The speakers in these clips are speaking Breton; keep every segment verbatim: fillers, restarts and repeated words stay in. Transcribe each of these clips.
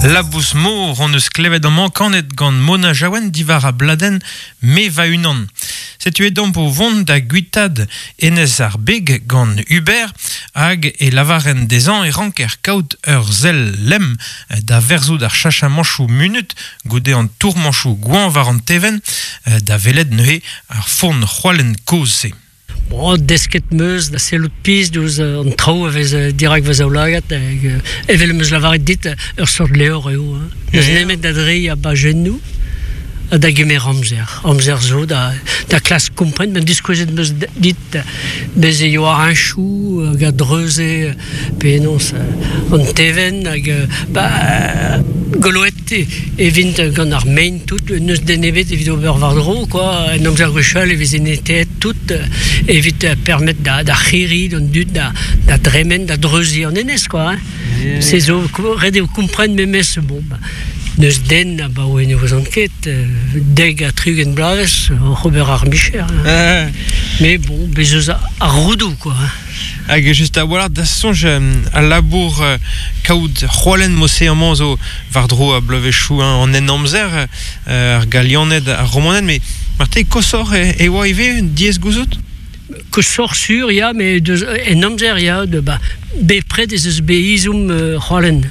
Labous mor hon eus klevet amañ kanet gant Mona Jaouen diwar a bladenn Me va-unan. Setu edomp o vont da guitad enez ar beg gant Hubert hag e lavaren dezhañ e ranker kaout ur sell lemm da verzout ar chachamanchoù munut goude an tourmanchoù gwañ war an tevenn da welet neuze ar forn c'hoalen kozh-se. Bon, desket meus da sellout piz diouzh an traoù a vez dirak va zaoulagad hag evel meus lavaret dit ur sort levr eo. Hein. N'eus nemet da dreiñ a bajennoù ha da gemer amzer. Amzer zo da, da klask kompren, ben diskouezet meus dit bez e yoa heñchoù hag a dreuze penaos an tevenn hag ba goloet e vint gant ar mein tout, n'eus den ebet evit ober war-dro, quoi. En amzer gwechall e veze neteet tout evit permet da, da c'hiri, d'an dud, da, da dremen, da dreuzi an enez, quoi. Hein. Yeah. Se zo, ret eo kompren memes, bon, ba, n'eus den a ba oe ne vouzan ket, deg a tri-ugent bloavezh, oc'h ober ar micher. Hein. Mais bon, bez eus ar rodoù, quoi. Hein. Hag just a-walc'h da soñj al labour kaout c'hoalen mose amañ zo war-dro a bloavezhioù an en amzer ar Galianed ar Romaned, mais marte kosoc'h e, e oa ivez diaes gouzout? Kosoc'h sur, ya, mais deus, en amzer, ya, de, ba, bepred ez eus bet izhomm euh, c'hoalen.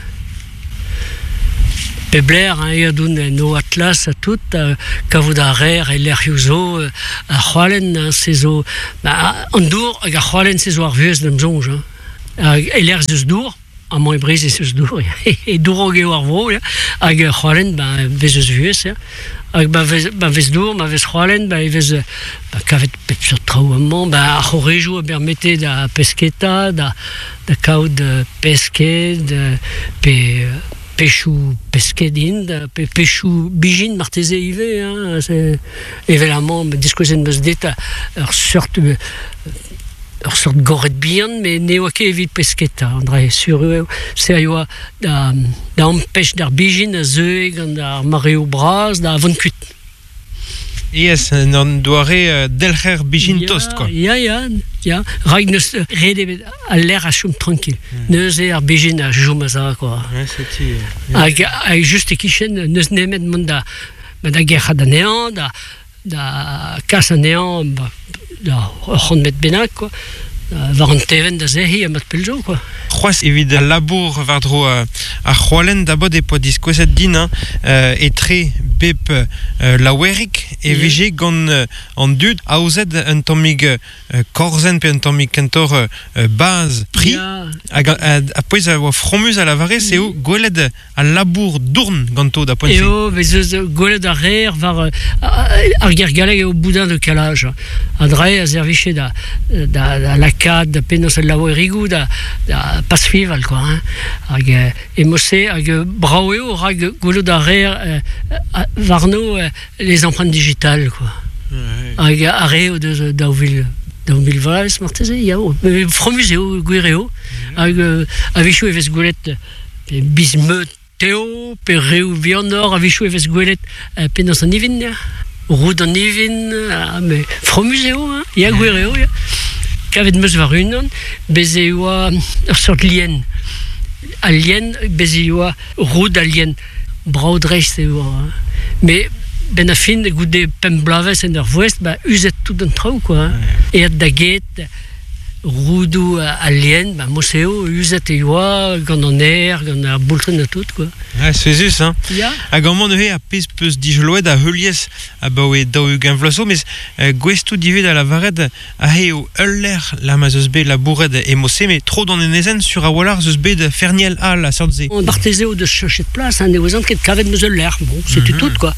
Pebler, hein, ya doun en o atlas a tout, kavout a rer e lec'hioù zo, ar c'hoalen, hein, se zo, ba, an dour hag ar c'hoalen se zo ar vuhez d'am soñj. Hein. Hag e lec'h eus dour, amañ e Breizh ez eus dour, e dourog eo ar vro, ya, hag ar c'hoalen, ba, vez eus vuhez, ya. Hag ba vez, ba vez dour, ma vez c'hoalen, ba e vez ba, kavet pep seurt traoù amañ, ba ar c'horejoù a bermete da pesketa, da, da kaout pesked, pe pechoù pesked int, pe pechoù bijin marteze ivez, hein, c'est evel amañ diskouezet meus dit ur seurt ur seurt goret bihan, mais ne oa ket evit pesketa, André, sur eo, se a yoa da, da ampech d'ar bijin a zeue gant ar mareoù bras da vont kuit. Yes, an doare delc'her bijin ya, tost, quoi. Ya, ya, ya. Rak neus ret ebet al lec'h a chom tranquil. Mm. Neuze ar bijin a chom a za, quoi. Ouais, setu. Hag, hag just e-kichen, neus nemet mont da, da gerc'hat anezhañ, da, da kas anezhañ, ba, da ur c'hant metr bennak, quoi. War an tevenn da zehi ha mat pell zo, quoi. C'hoazh evit al labour war-dro ar c'hoalen da bod e poa diskouezet din, hein, etre bep laouerig e vije gant an dud aozet un tammig korzenn pe un tammig kentoc'h baz pri. Hag a pouez a oa fromuz a lavare, se eo gwelet al labour dourn ganto da poent-se. Eo, vez eus gwelet ar reer war ar ger galleg eo boudin de calage. An dre a serviche da, da, da lakaat, da penaos al laouerigoù, da, da pasfival, quoi. Hein. Hag e mose, hag brao eo rak gwelet ar reer warno les empreintes digitales, quoi. Hag ar re o deus daou vil daou mil vloaz marteze, ya, fromuz eo, gwir eo. Hag a-wechoù e vez gwelet biz-meud teo, pe reoù bihanoc'h, a-wechoù e vez gwelet penaos an ivin, ya. Roud an ivin, mais fromuz eo, hein, ya, gwir eo, ya. Kavet meus war unan, bez e oa ur seurt lien. Al lien, bez e oa roud al lien. Brao dreist e oa. Hein. Mais ben a fin, goude pemp bloavezh en ur voest, ba uzet tout an traoù, quoi. Hein. Eat da get, roudoù al lien, ba mose eo, uzet e oa, gant an aer, gant ar boultrenn ha tout, quoi. Ouais, souezhus, hein. Ya. Hag amañ neuze ar pezh peus dijoloet a heuliez abaoe daou-ugent vloaz zo, mes gouestoù divez da lavaret a eo ul lec'h la ma zeus bet labouret e mose, mais tro d'an enezenn sur a-walc'h zeus bet ferniel all a seurt se. Marteze eo deus chachet plas, hein, ne ouzan ket kavet meus ul lec'h, bon, setu mm-hmm. tout, quoi.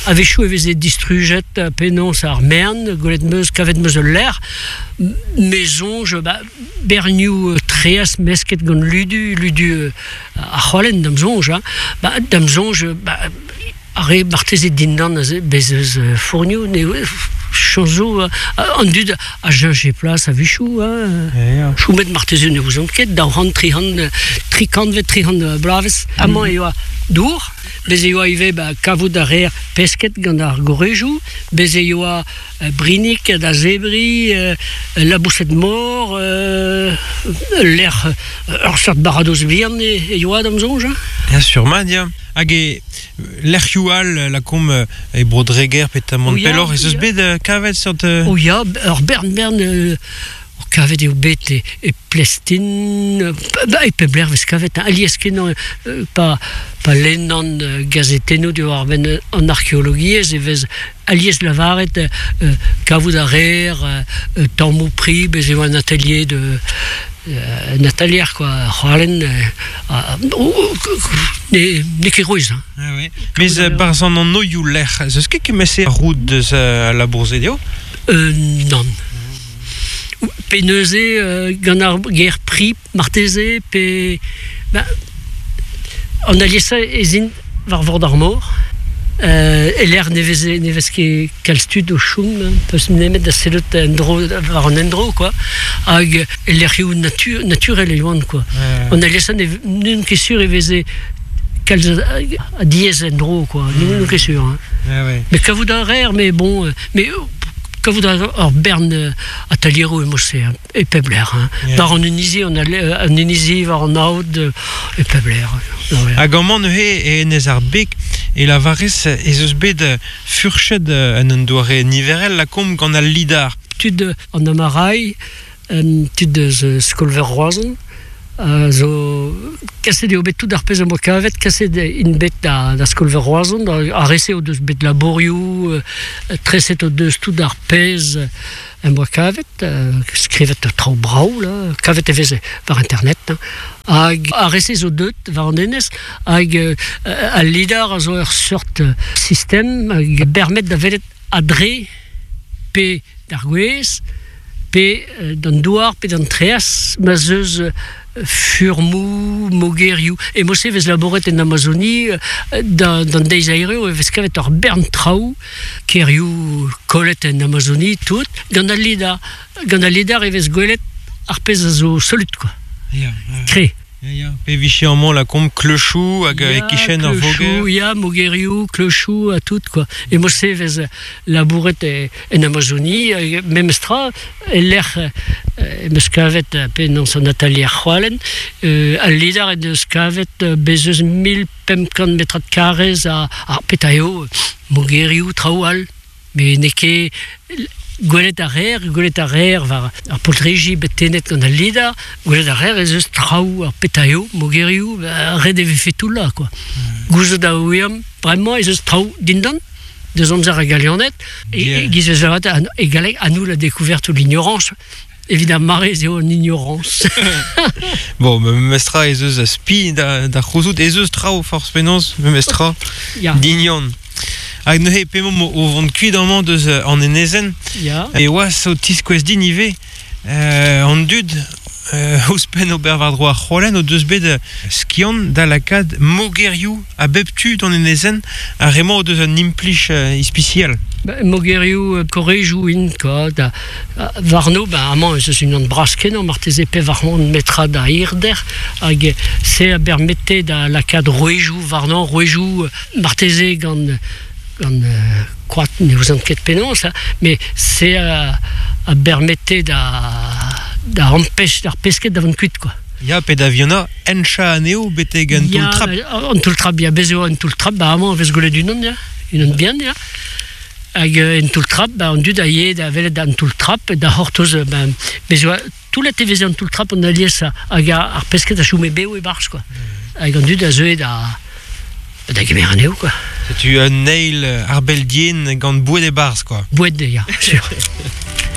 A-wechoù e veze distrujet penaos ar mern, gwelet meus kavet meus ul lec'h, me soñj, ba, bernioù treaz mesket gant ludu, ludu ar c'hoalen d'am soñj, hein. Ba, d'am soñj, ba, ar re marteze dindan bez eus fournioù, ne chanzo, an dud a cheñche plas a-wechoù, hein. Choumet marteze ne ouzon ket, daou c'hant, tri c'hant, tri kantvet, tri c'hant bloavezh. Amañ e oa dour, Bez e oa ivez ba, kavout ar reer pesket gant ar gorejou, bez e oa euh, brinik da zebri, euh, laboused mor, euh, l'er ur seurt baradoz bihan e, e oa d'am zonj. Hein. Ya sur mat, ya. Hag e lec'hioù all la kom e Bro-Dreger petamant pelloc'h, ez eus bet kavet seurt... Oh ya, ur bern bern... Euh, kavet eo bet e, e Plestin, ba, e pebler vez kavet, hein, alies kenañ pa, pa lennan gazetennoù diwar ar benn an arkeologiezh e vez alies lavaret euh, kavout ar reer, euh, tammoù pri, bez eo un atelier de... Euh, un atelier quoi, c'hoalen, euh, oh, ne, ne ket roiz. Hein. Ah ouais. Mais euh, barzh an an oioù lec'h, ez eus ket kemese roud deus euh, la bourse eo? Euh, non. Pe neuze euh, gant ar ger pri marteze pe ba, an aliesa ez int war vord ar mor euh, e l'air ne vez ne vez ket kalz tud o choum peus nemet da sellet en dro war an endro quoi hag e lec'hioù natur, naturel e oant quoi. Ouais. An aliesa ne n'on ket sur e veze kalz a diez en dro quoi, mm. n'on ket sur. Hein. Ouais, ouais. Mais kavout ar reer, mais bon, mais kavout ar bern ateliero e mosse e pebler. Hein. Yeah. War an Inizi, an, an Inizi war an aod e pebler. Ouais. Hag amañ neuze e enez ar beg e la varez ez eus bet furched en un doare niverel la kom gant al lidar. Tud an amarai, tud eus Skolver Roazhon, Uh, zo kaset eo bet tout ar pezh am boa kavet, kaset int bet da, da Skolver Roazhon, ar rese o deus bet labourioù, euh, treset o deus tout ar pezh am boa kavet, euh, skrivet traoù brav, là, kavet e veze war internet, hein. Hag ar rese zo deut war an enez, hag euh, al lidar a zo ur seurt sistem hag bermet da velet adre pe d'ar gwez, pe d'an douar, pe d'an treaz, ma zeus furmou, mogerioù. E mose vez laboret en Amazonie, da, d'an deiz aereo, e vez kavet ur bern traoù, kerioù kollet en Amazonie, tout. Gant al lidar, gant al lidar e vez gwelet ar pezh a zo solut, quoi. Ya, yeah, Kre. Ya, ya. Pe viche amañ la kom kleuchou hag e kichen ar voger. Ya, mogerioù, kleuchou, ha tout, quoi. E mose vez labouret e, en Amazonie, memes tra, e lec'h e meus kavet pe non son atelier c'hoalen, euh, al lidar e deus kavet bez eus mil pemp kant metrad karrez a, a peta eo mogerioù, traoù all. Mais n'eo ket gwelet ar reer, gwelet ar reer war ar poltreji bet tenet gant al lidar, gwelet ar reer ez eus traoù ar peta eo, mogerioù, ret e vefe tout là, quoi. Mm. Gouzout a ouiam, bremañ ez eus traoù dindan, deus amzer a galianet, e, e giz eus avat e galleg a nous la découverte ou l'ignorance. Évidemment, ez eo an ignorance. Bon, me mestra ez eus a spi da, da c'houzout, ez eus traoù forz penaos, me mestra Ya. dignon. Hag neuze pemomp o vont kuit amañ deus an enezenn, Ya. e oas o tiskouez din ivez, euh, an dud euh, ouzhpenn ober war-dro ar c'hoalen o deus bet skiant da lakaat mogerioù a bep tu d'an enezenn, ar remañ o deus un implij euh, ispisial. Ba, mogerioù korejoù int, quoi, da, warno, ba, amañ ez eus unan bras kenañ, marteze pe war an metra da hirder, hag se a bermete da lakaat roejoù warnañ, roejoù marteze gant gant euh, koad ne ouzan ket penaos, hein, mais se a, a bermete da, da ampech d'ar pesket da vont kuit, quoi. Ya, pe da viona encha anezho betek an Ya, toull-trap. An toull-trap, ya, bez eo an toull-trap, ba amañ vez gwelet unan, ya, unan bihan, ya. Hag en toull-trap, ba an dud a ye da welet an toull-trap, da c'hortoz, ba, bez oa toulet e veze an toull-trap an alies hag ar pesket a choume beo e barz, quoi. Hag an dud a zeue da, da gemer anezho, quoi. Setu un eil ar beldien gant boued e barz, quoi. Boued, ya, sur.